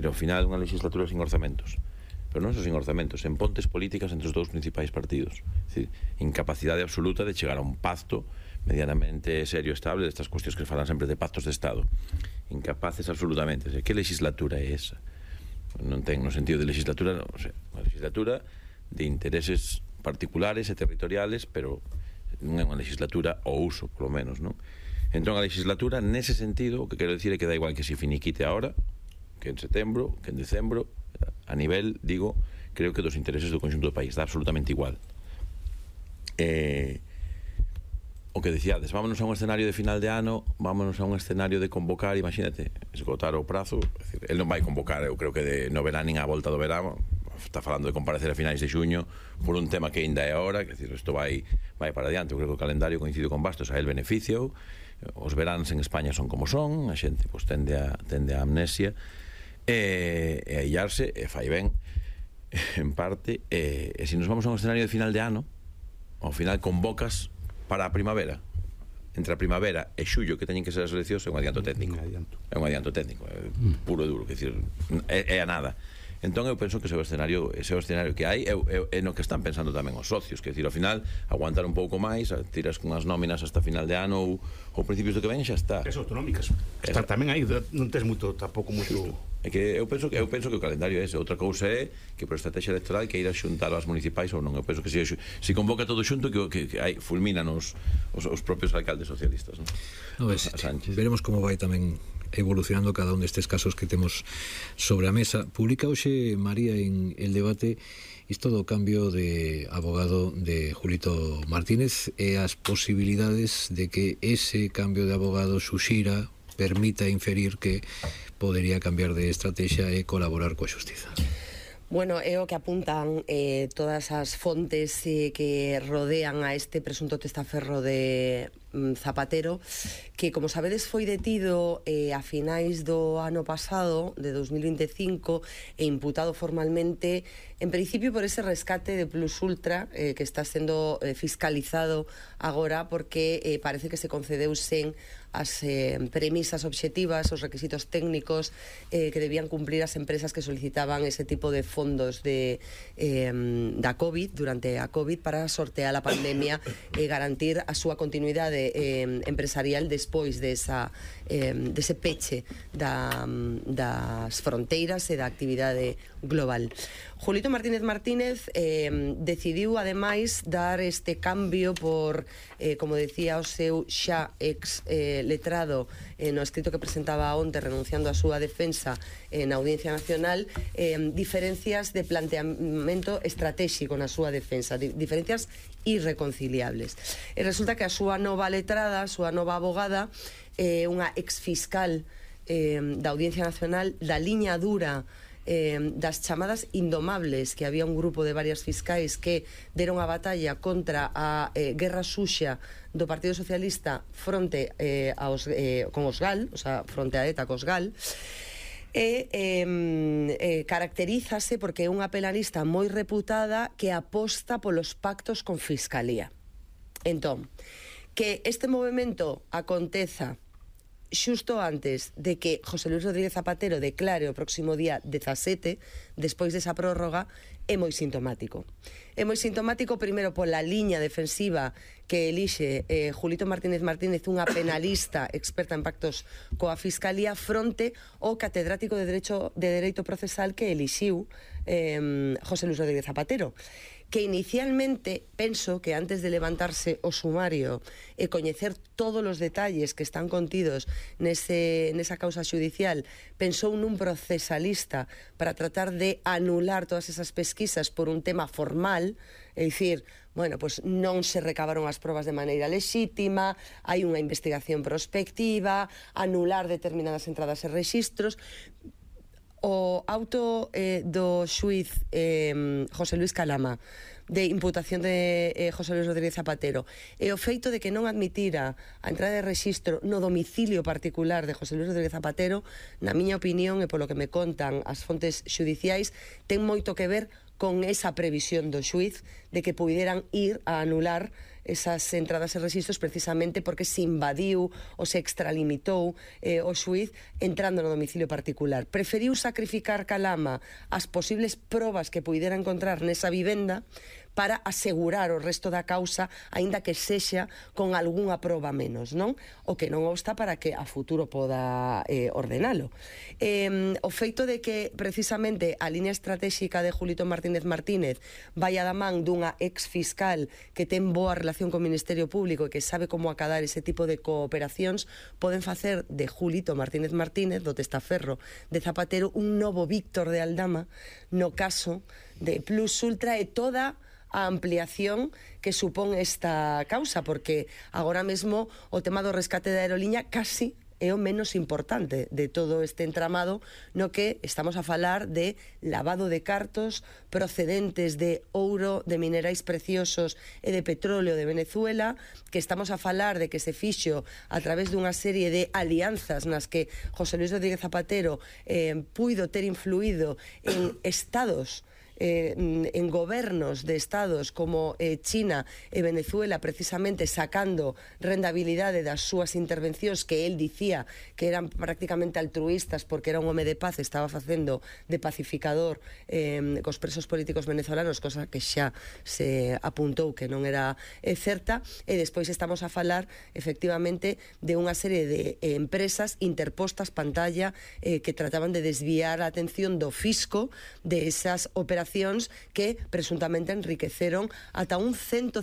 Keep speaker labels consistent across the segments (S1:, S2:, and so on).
S1: Ao final, unha legislatura sin orzamentos. Pero non só sin orzamentos, en pontes políticas entre os dous principais partidos. Incapacidade absoluta de chegar a un pacto medianamente serio e estable destas cuestións que falan sempre de pactos de Estado. Incapaces absolutamente. Que legislatura é esa? Non ten no sentido de legislatura, unha legislatura de intereses particulares e territoriales, pero non é unha legislatura ao uso, polo menos, non? Entón, a legislatura, nese sentido, o que quero dicir é que dá igual que se finiquite ahora, que en setembro, que en decembro, a nivel, digo, creo que dos intereses do conxunto do país, dá absolutamente igual. O que dicíades, vámonos a un escenario de final de ano, vámonos a un escenario de convocar, imagínate, esgotar o prazo, é dicir, el non vai convocar, eu creo que no verán nin a volta do verano, está falando de comparecer a finais de xuño por un tema que ainda é ahora, que decir, isto vai para adiante. Eu creo que o calendario coincide con Bastos, a el beneficio, os veráns en España son como son, a xente pues, tende a amnesia e a illarse, e fai ben en parte, e se nos vamos a un escenario de final de ano, ao final convocas para a primavera, entre a primavera e xullo que teñen que ser as eleccións, é un adianto técnico, puro e duro, que decir, é a nada. Entón eu penso que ese é o escenario que hai, é no que están pensando tamén os socios, que decir, ao final aguantar un pouco máis, tiras con as nóminas hasta final de ano ou principios do que ven, xa está.
S2: As autonómicas están tamén aí, non tes moito, tampouco moito.
S1: É que eu penso que o calendario é ese. Outra cousa é que por estrategia electoral que ir a xuntar as municipais ou non. Eu penso que se convoca todo xunto que fulminan os propios alcaldes socialistas, non?
S3: Veremos como vai tamén evolucionando cada un destes casos que temos sobre a mesa. Publica hoxe María en El Debate isto do cambio de abogado de Julito Martínez e as posibilidades de que ese cambio de abogado suxira, permita inferir que podería cambiar de estrategia e colaborar coa xustiza.
S4: Bueno, é o que apuntan todas as fontes que rodean a este presunto testaferro de Zapatero, que, como sabedes, foi detido a finais do ano pasado, de 2025, e imputado formalmente, en principio, por ese rescate de Plus Ultra, que está sendo fiscalizado agora, porque parece que se concedeu sen as premisas obxectivas, os requisitos técnicos que debían cumplir as empresas que solicitaban ese tipo de fondos da COVID, durante a COVID, para sortear a pandemia e garantir a súa continuidade empresarial despois dese peche das fronteiras e da actividade global. Julito Martínez decidiu, ademais, dar este cambio por, como decía o seu xa ex letrado no escrito que presentaba onte renunciando a súa defensa na Audiencia Nacional, diferencias de planteamento estratégico na súa defensa, diferencias irreconciliables. E resulta que a súa nova letrada, a súa nova abogada, unha exfiscal da Audiencia Nacional, da liña dura das chamadas indomables, que había un grupo de varias fiscais que deron a batalla contra a guerra suxa do Partido Socialista fronte con os GAL, o sea, fronte a ETA cos GAL, caracterízase porque é unha penalista moi reputada que aposta polos pactos con Fiscalía. Entón, que este movimento aconteza xusto antes de que José Luis Rodríguez Zapatero declare o próximo día 17, despois desa prórroga, é moi sintomático. É moi sintomático, primeiro, pola liña defensiva que elixe Julito Martínez, unha penalista experta en pactos coa Fiscalía, fronte ao catedrático de Dereito Procesal que elixiu José Luis Rodríguez Zapatero, que inicialmente, penso que antes de levantarse o sumario e coñecer todos os detalles que están contidos nesa causa xudicial, pensou nun procesalista para tratar de anular todas esas pesquisas por un tema formal, é dicir, bueno, pues non se recabaron as probas de maneira lexítima, hai unha investigación prospectiva, anular determinadas entradas e rexistros. O auto do xuiz José Luis Calama de imputación de José Luis Rodríguez Zapatero e o feito de que non admitira a entrada de rexistro no domicilio particular de José Luis Rodríguez Zapatero, na miña opinión e polo que me contan as fontes xudiciais, ten moito que ver con esa previsión do xuiz de que puderan ir a anular esas entradas e registros precisamente porque se invadiu ou se extralimitou o xuiz entrando no domicilio particular. Preferiu sacrificar calama as posibles probas que puidera encontrar nesa vivenda para asegurar o resto da causa, aínda que sexa con algunha proba menos, non? O que non obsta para que a futuro poda ordenalo. O feito de que precisamente a línea estratégica de Julito Martínez Martínez vai a da man dunha ex-fiscal que ten boa relación co Ministerio Público e que sabe como acadar ese tipo de cooperacións, poden facer de Julito Martínez Martínez, do testaferro de Zapatero, un novo Víctor de Aldama no caso de Plus Ultra e toda a ampliación que supón esta causa, porque agora mesmo o tema do rescate da aeroliña casi é o menos importante de todo este entramado, no que estamos a falar de lavado de cartos procedentes de ouro, de minerais preciosos e de petróleo de Venezuela, que estamos a falar de que se fixo a través dunha serie de alianzas nas que José Luis Rodríguez Zapatero puido ter influído en estados, en gobernos de estados como China e Venezuela, precisamente sacando rendabilidade das súas intervencións que él dicía que eran prácticamente altruistas porque era un home de paz, estaba facendo de pacificador cos presos políticos venezolanos, cosa que xa se apuntou que non era certa. E despois estamos a falar efectivamente de unha serie de empresas interpostas pantalla que trataban de desviar a atención do fisco de esas operacións que presuntamente enriqueceron ata un 150%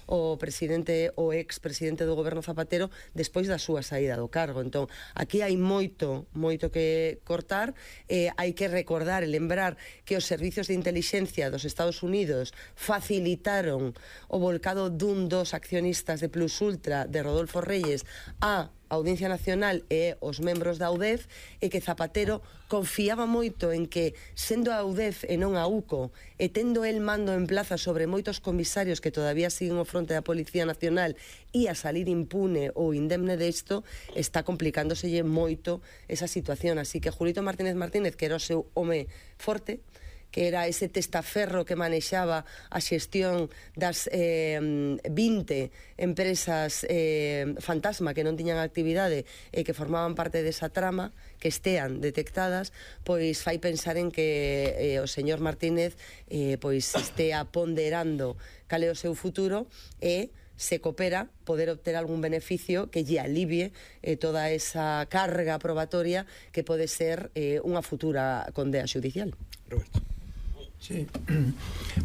S4: o presidente ou ex-presidente do goberno Zapatero despois da súa saída do cargo. Entón, aquí hai moito que cortar. Hai que recordar e lembrar que os servizos de inteligencia dos Estados Unidos facilitaron o volcado dun dos accionistas de Plus Ultra, de Rodolfo Reyes, a Audiencia Nacional e os membros da UDEF, e que Zapatero confiaba moito en que, sendo a UDEF e non a UCO, e tendo el mando en plaza sobre moitos comisarios que todavía siguen ao fronte da Policía Nacional, e a salir impune ou indemne desto, está complicándoselle moito esa situación. Así que Julito Martínez Martínez, que era o seu home forte, que era ese testaferro que manexaba a xestión das 20 empresas fantasma que non tiñan actividade e que formaban parte desa trama, que estean detectadas, pois fai pensar en que o señor Martínez pois estea ponderando cal é o seu futuro e se coopera poder obter algún beneficio que lle alivie toda esa carga probatoria que pode ser unha futura condea xudicial.
S2: Roberto.
S5: Sí,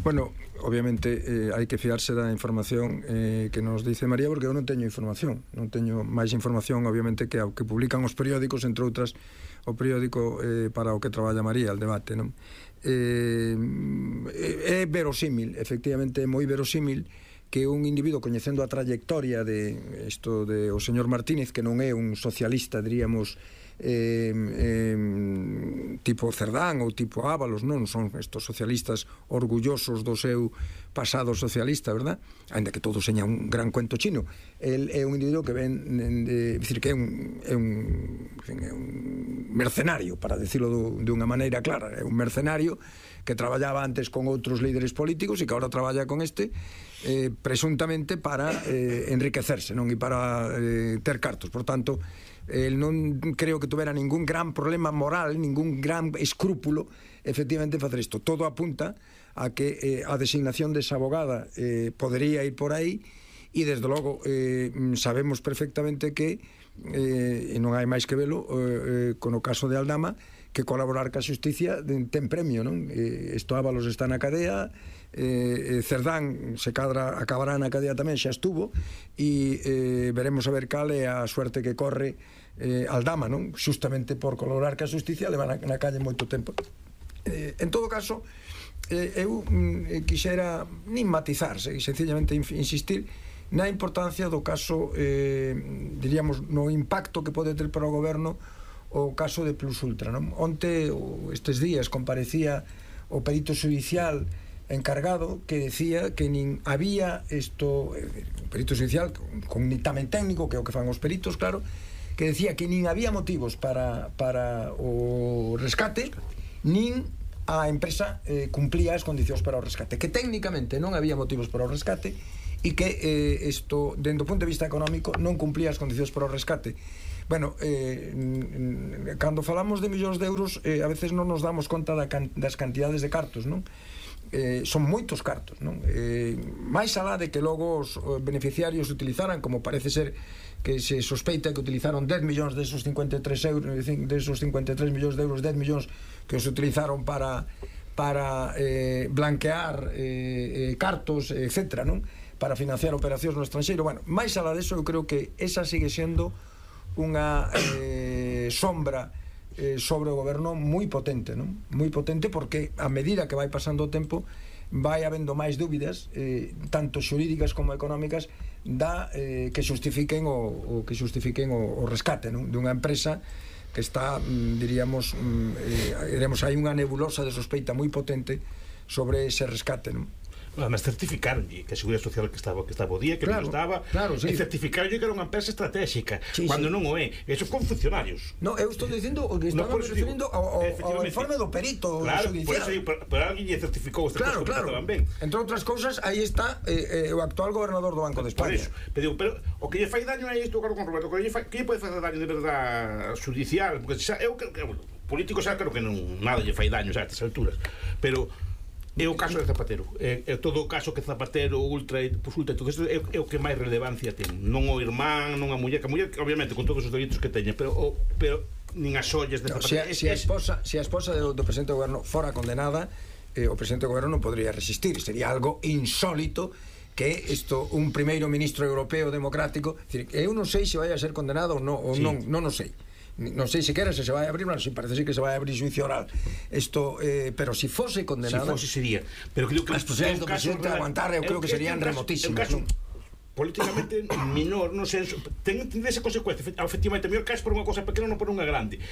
S5: bueno, obviamente hai que fiarse da información que nos dice María, porque eu non teño información, non teño máis información obviamente que a que publican os periódicos, entre outras o periódico para o que traballa María, El Debate, non? É verosímil, efectivamente é moi verosímil que un individuo coñecendo a trayectoria de isto de o señor Martínez, que non é un socialista, diríamos, tipo Cerdán ou tipo Ábalos, non son estos socialistas orgullosos do seu pasado socialista, verdad? Ainda que todo seña un gran cuento chino. El é un individuo que ven decir que é un mercenario, para decirlo de unha maneira clara, é un mercenario que traballaba antes con outros líderes políticos e que agora traballa con este presuntamente para enriquecerse, non? E para ter cartos. Por tanto, el non creo que tuvera ningún gran problema moral, ningún gran escrúpulo efectivamente en facer isto. Todo apunta a que a designación desa abogada podería ir por aí, e desde logo sabemos perfectamente que e non hai máis que velo con o caso de Aldama, que colaborar ca xusticia ten premio, non? Isto Ábalos está na cadea, Cerdán se acabará na cadea tamén, xa estuvo, e veremos a ver cal é a suerte que corre Aldama, non? Justamente por colaborar ca xusticia leva na calle moito tempo. En todo caso, eu quixera nin matizar, sencillamente insistir na importancia do caso, diríamos, no impacto que pode ter para o goberno o caso de Plus Ultra, non? Onte, estes días, comparecía o perito judicial encargado que decía que nin había isto, un perito judicial con un dictamen técnico, que é o que fan os peritos, claro, que decía que nin había motivos para o rescate, nin a empresa cumplía as condicións para o rescate, que técnicamente non había motivos para o rescate, e que isto, dentro do punto de vista económico, non cumplía as condicións para o rescate. Bueno, cando falamos de millóns de euros, a veces non nos damos conta das cantidades de cartos, non? Son moitos cartos, non? Máis alá de que logo os beneficiarios utilizaran, como parece ser que se sospeita que utilizaron 10 millóns desos 53 euros, desos 53 millóns de euros, 10 millóns que os utilizaron para blanquear cartos, etcétera, non? Para financiar operacións no estranxeiro. Bueno, máis alá deso, eu creo que esa sigue sendo unha sombra sobre o goberno moi potente, non? Moi potente, porque a medida que vai pasando o tempo vai habendo máis dúbidas, tanto xurídicas como económicas, que xustifiquen o rescate, non? Dunha empresa que está, diríamos, hai unha nebulosa de sospeita moi potente sobre ese rescate, non?
S2: Además certificaron que a Seguridade Social que estaba o día, que non estaba,
S5: sí.
S2: E certificaron que era unha empresa estratégica, cando non o é. Eso con funcionarios.
S5: No, eu estou dicindo o que estaba referindo ao informe do perito judicial.
S2: Pero alguén lle certificou estas cousas que estaban ben.
S5: Entre outras cousas, aí está o actual gobernador do Banco de España.
S2: Pero o que lle fai daño é isto, con Roberto, que lle pode facer daño de verdad judicial, porque eu político xa creo que nada lle fai daño a estas alturas, pero é o caso de Zapatero, é todo o caso que Zapatero ultra e todo isto é o que máis relevancia ten, non o irmán, non a muller, que a muller obviamente con todos os delitos que teña, pero nin as ollas de Zapatero.
S5: Se a esposa do presidente do goberno fora condenada, o presidente do goberno non podría resistir, sería algo insólito que isto, un primeiro ministro europeo democrático, eu non sei se vai a ser condenado ou non o sei. Non sei sequera se se vai a abrir, mas parece que se vai a abrir xuicio oral. Pero si fose condenada,
S2: si fose sería, pero creo que
S5: as posibilidades do presidente de aguantar, eu creo que serían remotísimas.
S2: Políticamente menor, non sei, ten esa consecuencia, efectivamente, mellor caes por unha cosa pequena, non por unha grande.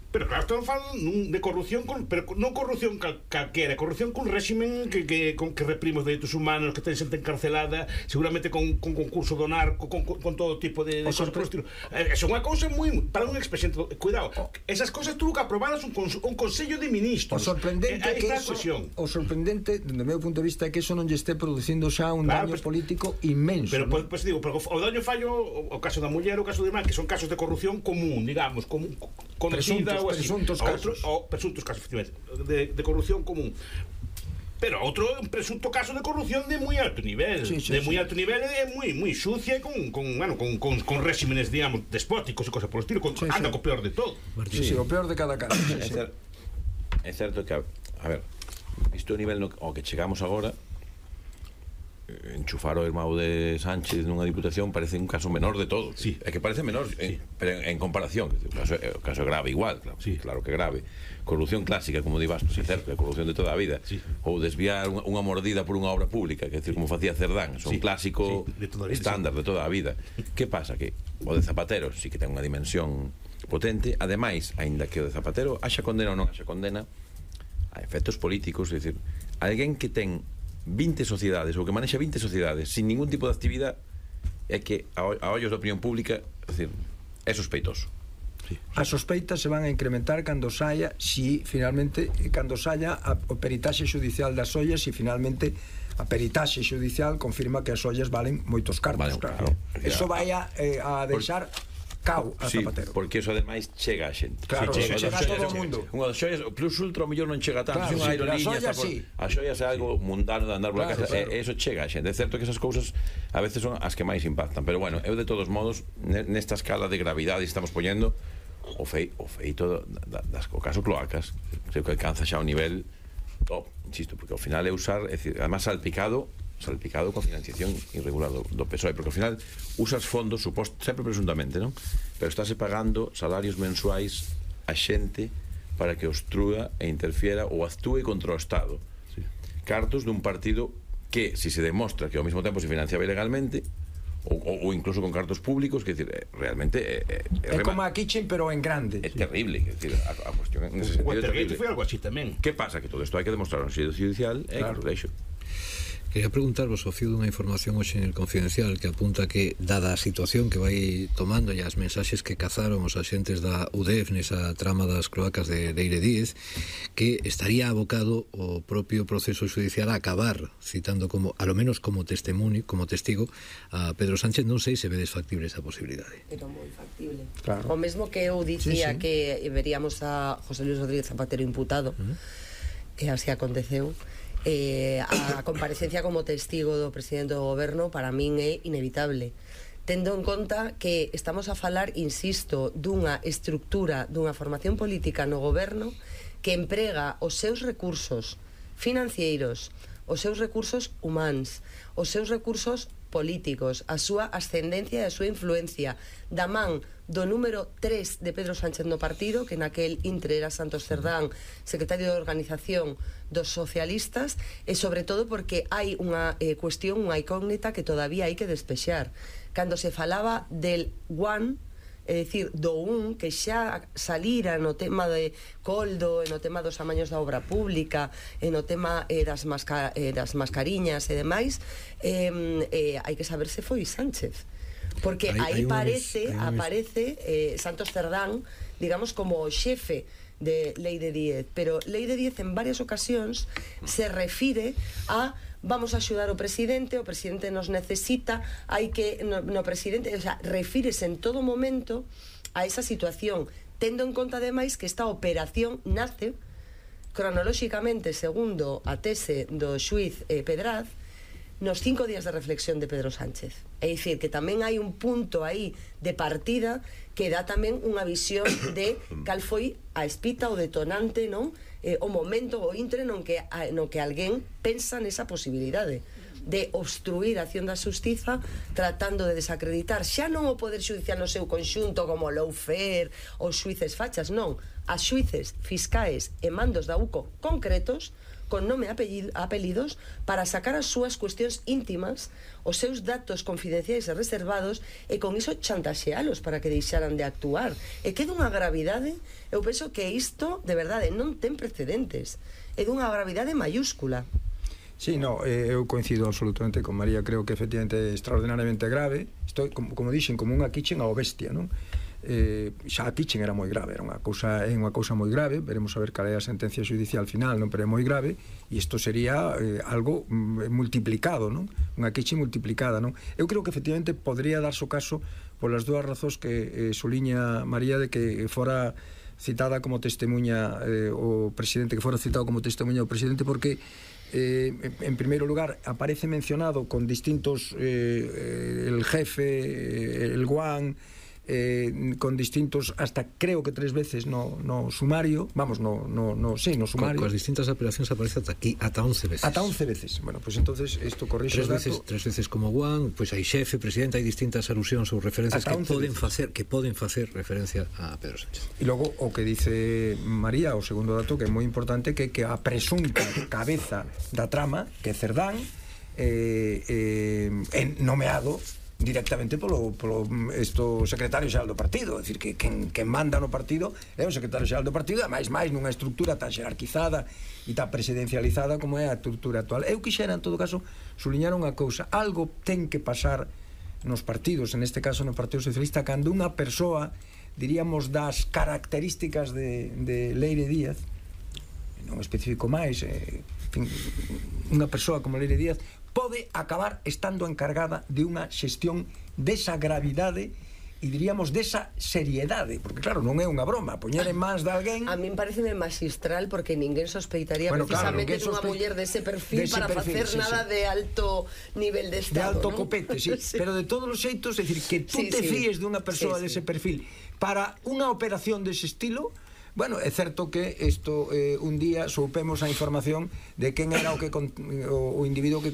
S2: Pero claro, estamos falando de corrupción, pero non corrupción calquera, corrupción con réximen que reprime os dereitos humanos, que ten xente encarcelada, seguramente con concurso do narco, con todo tipo de cosas por estilo. É unha cousa moi para un expresidente. Cuidado, esas cousas tuvo que aprobalas un consello de ministros.
S5: O sorprendente dende o meu punto de vista, é que eso non lle este producindo xa un daño político inmenso.
S2: Pero pues digo, o daño fallo, o caso da muller, o caso do irmán, que son casos de corrupción común, digamos, conocida,
S5: presuntos casos,
S2: efectivamente, de corrupción común. Pero outro é un presunto caso de corrupción de moi alto nivel, moi alto nivel, é moi sucia, con réximenes, digamos, despóticos e cosas por estilo, anda co peor de todo.
S5: O peor de cada caso.
S1: É certo que, a ver, visto o nivel ao que chegamos agora, enchufar o irmão de Sánchez nunha diputación parece un caso menor de todo.
S2: Sí.
S1: É que parece menor, pero en comparación, o caso é grave igual, claro que é grave. Corrupción clásica, como di Bastos, é certo, é corrupción de toda a vida. Ou desviar unha mordida por unha obra pública, que é como facía Cerdán, son clásico estándar de toda a vida. Que pasa? Que o de Zapatero sí que ten unha dimensión potente, ademais, aínda que o de Zapatero haxa condena ou non haxa condena, a efectos políticos, é dicir, alguén que ten 20 sociedades ou que manexa 20 sociedades sin ningún tipo de actividade, é que a ollos da opinión pública, é dicir, é sospeitoso.
S5: As sospeitas se van a incrementar cando saia o peritaxe judicial das ollas, e finalmente a peritaxe judicial confirma que as ollas valen moitos cartos, claro. Eso vai a deixar cao a Zapatero.
S1: Porque eso ademais chega a xente.
S5: Claro, chega a todo o mundo.
S1: Unha das xoias, o plus ultra o mellor non chega tanto,
S5: claro,
S1: unha aerolínea, as xoias é algo mundano de andar pola casa, eso chega a xente. É certo que esas cousas a veces son as que máis impactan, pero bueno, eu de todos modos nesta escala de gravidade estamos poñendo o feito o caso Cloacas, creo que alcanza xa un nivel top, insisto, porque ao final é usar, é dicir, además salpicado con financiación irregular do PSOE, porque ao final usas fondos, sempre presuntamente, non? Pero estáse pagando salarios mensuais a xente para que obstrúa e interfiera ou actúe contra o Estado. Cartos dun partido que, si se demostra que ao mesmo tempo se financiaba ilegalmente, ou incluso con cartos públicos, que decir, realmente
S5: é como a Kitchen, pero en grande.
S1: É terrible, que decir, a cuestión en ese sentido é terrible.
S2: Foi algo así tamén.
S1: Que pasa? Que todo isto hai que demostrar no sitio judicial, claro.
S3: Quería preguntarvos o fío dunha información hoxe en el Confidencial que apunta que, dada a situación que vai tomando e as mensaxes que cazaron os axentes da UDEF nesa trama das cloacas de Leire Díez, que estaría abocado o propio proceso judicial a acabar citando como, a lo menos como testimonio, como testigo, a Pedro Sánchez. Non sei se vedes factible esa posibilidade.
S4: Pero moi factible.
S5: Claro.
S4: O mesmo que eu dicía que veríamos a José Luis Rodríguez Zapatero imputado, e así aconteceu. A comparecencia como testigo do presidente do goberno para min é inevitable, tendo en conta que estamos a falar, insisto, dunha estructura, dunha formación política no goberno que emprega os seus recursos financeiros, os seus recursos humanos, os seus recursos políticos, a súa ascendencia e a súa influencia da man do número 3 de Pedro Sánchez no partido, que naquel intre era Santos Cerdán, secretario de organización dos socialistas, e sobre todo porque hai unha cuestión, unha incógnita que todavía hai que despexar. Cando se falaba del One, é dicir, do un, que xa salira no tema de Coldo, no tema dos amaños da obra pública, no tema das mascariñas e demais, hai que saber se foi Sánchez, porque aí aparece Santos Cerdán, digamos, como o xefe de Leire Díez, pero Leire Díez en varias ocasións se refire a vamos a axudar o presidente nos necesita, hai que no presidente, o sea, refírese en todo momento a esa situación, tendo en conta ademais que esta operación nace cronolóxicamente, segundo a tese do xuiz Pedraz, nos 5 días de reflexión de Pedro Sánchez. É dicir, que tamén hai un punto aí de partida que dá tamén unha visión de cal foi a espita, o detonante, non? O momento, o intre no que alguén pensa nesa posibilidade de obstruir a acción da xustiza tratando de desacreditar xa non o Poder Xudicial no seu conxunto como o lawfare, os xuíces fachas, non, as xuíces, fiscais e mandos da UCO concretos con nome e apelidos para sacar as súas cuestións íntimas, os seus datos confidenciais e reservados, e con iso chantaxealos para que deixaran de actuar. E que dunha gravidade, eu penso que isto de verdade non ten precedentes, é dunha gravidade mayúscula.
S5: Sí, no, eu coincido absolutamente con María, creo que efectivamente é extraordinariamente grave. Isto, como dixen, como unha kitchen ao bestia, non? Xa a kitchen era moi grave, é unha cousa moi grave, veremos a ver cal é a sentencia judicial final, non, pero é moi grave, e isto sería algo multiplicado, non? Unha kitchen multiplicada, non? Eu creo que efectivamente podría darse o caso polas dúas razóns que soliña María, de que fora citada como testemunha o presidente, que fora citado como testemunha o presidente, porque en primeiro lugar aparece mencionado con distintos el jefe, el guan, con distintos, hasta creo que 3 veces no sumario, vamos, no sumario.
S3: Con as distintas apelacións aparece ata 11 veces.
S5: Ata 11 veces. Bueno, pues entonces isto corrixe o dato.
S3: 3 veces como guan, pues hai xefe, presidente, hai distintas alusións ou referencias que poden facer referencia a Pedro Sánchez.
S5: E logo o que dice María, o segundo dato que é moi importante, que a presunta cabeza da trama, que é Cerdán, nomeado directamente polo secretario xeral do partido, é dicir, que quen manda no partido é o secretario xeral do partido, e máis nunha estructura tan xerarquizada e tan presidencializada como é a estructura actual. Eu quixera, en todo caso, suliñar unha cousa: algo ten que pasar nos partidos, en este caso no Partido Socialista, cando unha persoa, diríamos, das características de Leire Díaz, non especifico máis, unha persoa como Leire Díaz pode acabar estando encargada de unha xestión desa gravidade e diríamos desa seriedade, porque claro, non é unha broma poñer en mans de alguén.
S4: A min pareceme magistral, porque ninguén sospeitaría precisamente dunha muller dese perfil para facer nada de alto nivel de estado,
S5: de alto copete, sí. Pero de todos os xeitos, é dicir, que tú te fíes dunha persoa dese perfil para unha operación dese estilo. Bueno, é certo que isto un día soupemos a información de quen era o individuo que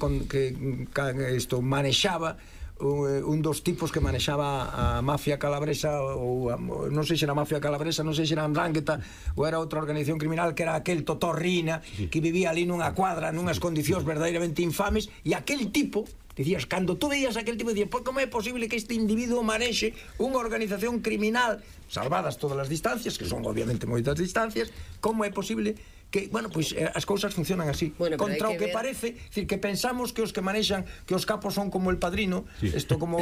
S5: isto manexaba, un dos tipos que manexaba a mafia calabresa, ou non sei se era mafia calabresa, non sei se era Andrangheta ou era outra organización criminal, que era aquel Totorrina que vivía ali nunha cuadra nunhas condicións verdadeiramente infames, e aquel tipo Dicías, cando tú veías aquel tipo, dicías, como é posible que este individuo manexe unha organización criminal, salvadas todas as distancias, que son obviamente moitas distancias, como é posible que, bueno, pois as cousas funcionan así.
S4: Bueno,
S5: contra o que parece, decir, que pensamos que os que manexan, que os capos son como el Padrino, isto como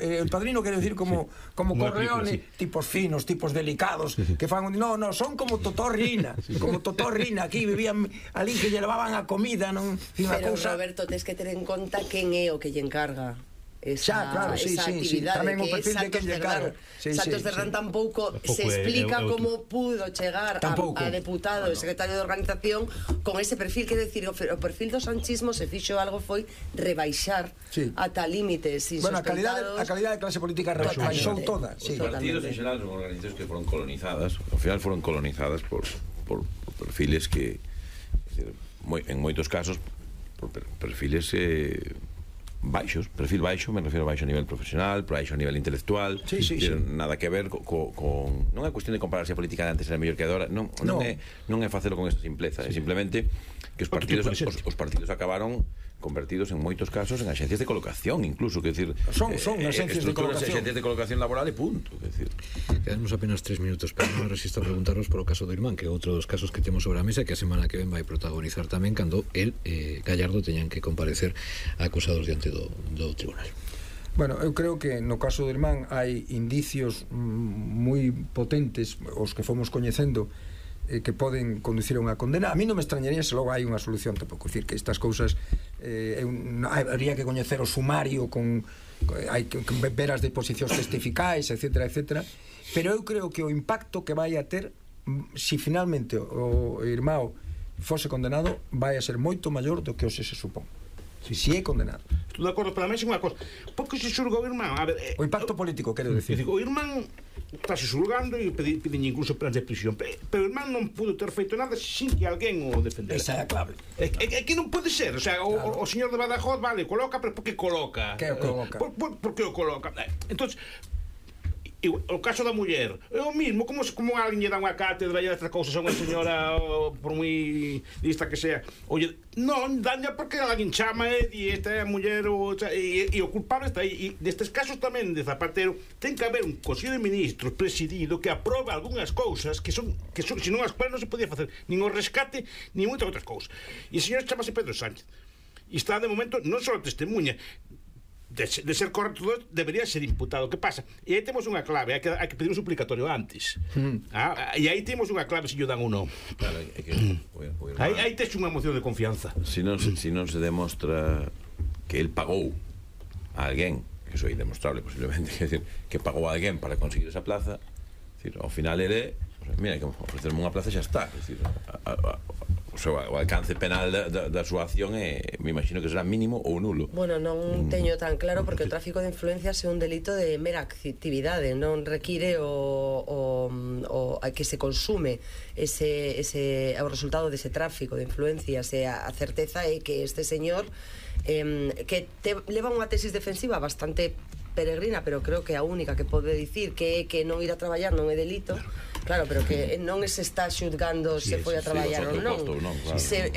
S5: el Padrino quero decir como Corleone, tipos finos, tipos delicados, que fan, no, son como Totó Rina, como Totó Rina, aquí vivían ali que lle levaban a comida, non?
S4: Pero Roberto, tes que ter en conta quen é o que lle encarga esa actividade,
S5: tamén o perfil de quen lle encarga.
S4: Santos Cerdán tampouco se explica como pudo chegar a deputado e secretario de organización con ese perfil, quero decir, o perfil do sanchismo se fixo algo foi rebaixar ata límites insospeitados.
S5: A calidade de clase política rebaixou toda.
S1: Os partidos en xeral son organizacións que foron colonizadas, ao final foron colonizadas por perfiles que, en moitos casos, por perfiles baixos, perfil baixo, me refiro a baixo a nivel profesional, baixo a nivel intelectual, nada que ver con non é cuestión de comparar se a política de antes era mellor que agora, non é facelo con esta simpleza, é simplemente que os partidos acabaron convertidos en moitos casos en axencias de colocación, incluso, que decir,
S5: son axencias
S1: de colocación laboral e punto, que decir.
S3: Quedamos apenas 3 minutos, pero non resisto a preguntaros por o caso do irmán, que é outro dos casos que temos sobre a mesa, que a semana que ven vai protagonizar tamén cando el, Gallardo, teñan que comparecer acusados diante do tribunal.
S5: Bueno, eu creo que no caso do irmán hai indicios moi potentes, os que fomos coñecendo, que poden conducir a unha condena. A mí non me extrañaría se logo hai unha solución, tampouco, decir que estas cousas habría que coñecer o sumario, hai que ver as deposicións testificais, etcétera, etcétera, pero eu creo que o impacto que vai a ter, si finalmente o irmão fose condenado, vai a ser moito maior do que hoxe se supón. Si é condenado.
S2: Estou de acordo, pero a mí é unha cosa. Porque se xulga o irmán? A ver,
S5: o impacto político, quero decir.
S2: O irmán estáse xulgando e piden incluso penas de prisión, pero o irmán non pudo ter feito nada sin que alguén o defendera.
S5: Esa é a clave.
S2: É que non pode ser, o sea, o señor de Badajoz, vale, coloca, pero por que coloca?
S5: Que o coloca?
S2: Por que o coloca? Entonces, o caso da muller é o mismo, como alguén lle dá unha cátedra e estas cousas a unha señora, por moi lista que sea, oye, non, daña porque alguén chama e di esta é a muller, e o culpable está aí. E nestes casos tamén de Zapatero ten que haber un Consello de Ministros presidido que aprobe algunhas cousas que son senón as cuales non se podía facer nin o rescate nin moitas outras cousas. E o señor chamase Pedro Sánchez e está de momento non só testemunha de ser correcto, debería ser imputado. Que pasa? E aí temos unha clave, hai que pedir un suplicatorio antes. E aí temos unha clave se lle dan ou non.
S1: Claro,
S2: aí tes unha moción de confianza.
S1: Se non se demostra que el pagou a alguén, que iso é indemostrable posiblemente, que pagou a alguén para conseguir esa plaza, ao final ele, mira, que ofrecerme unha plaza xa está, o alcance penal da súa acción me imagino que será mínimo ou nulo.
S4: Bueno, non teño tan claro porque o tráfico de influencias é un delito de mera actividade, non require que se consume o resultado dese tráfico de influencias, e a certeza é que este señor que leva unha tesis defensiva bastante peregrina, pero creo que a única que pode dicir que non ir a traballar non é delito. Claro, pero que non se está xulgando se foi a traballar ou non. Se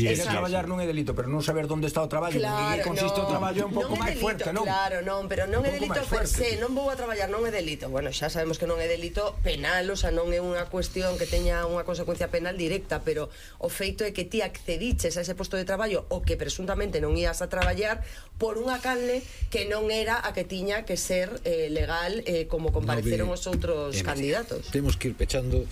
S5: ir a traballar non é delito, pero non saber onde está o traballo, en que consiste o traballo é un pouco máis fuerte, non?
S4: Claro, non, pero non é delito per se, non vou a traballar, non é delito. Bueno, xa sabemos que non é delito penal, o sea, non é unha cuestión que teña unha consecuencia penal directa, pero o feito é que ti accediches a ese posto de traballo o que presuntamente non ías a traballar por unha canle que non era a que tiña que ser legal, como compareceron os outros candidatos.
S3: Temos que ir pechando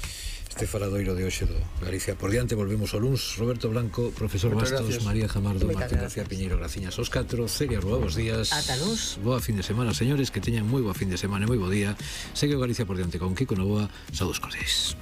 S3: este faladoiro de hoxe do Galicia por diante. Volvemos ao luns. Roberto Blanco, profesor Bastos, María Jamardo, Martín García Piñeiro, graciñas aos 4, Celia Rúa, bos días.
S4: Ata luns.
S3: Boa fin de semana, señores, que teñan moi boa fin de semana e moi bo día. Segue o Galicia por diante con Kiko Novoa. Saúdos cordiais.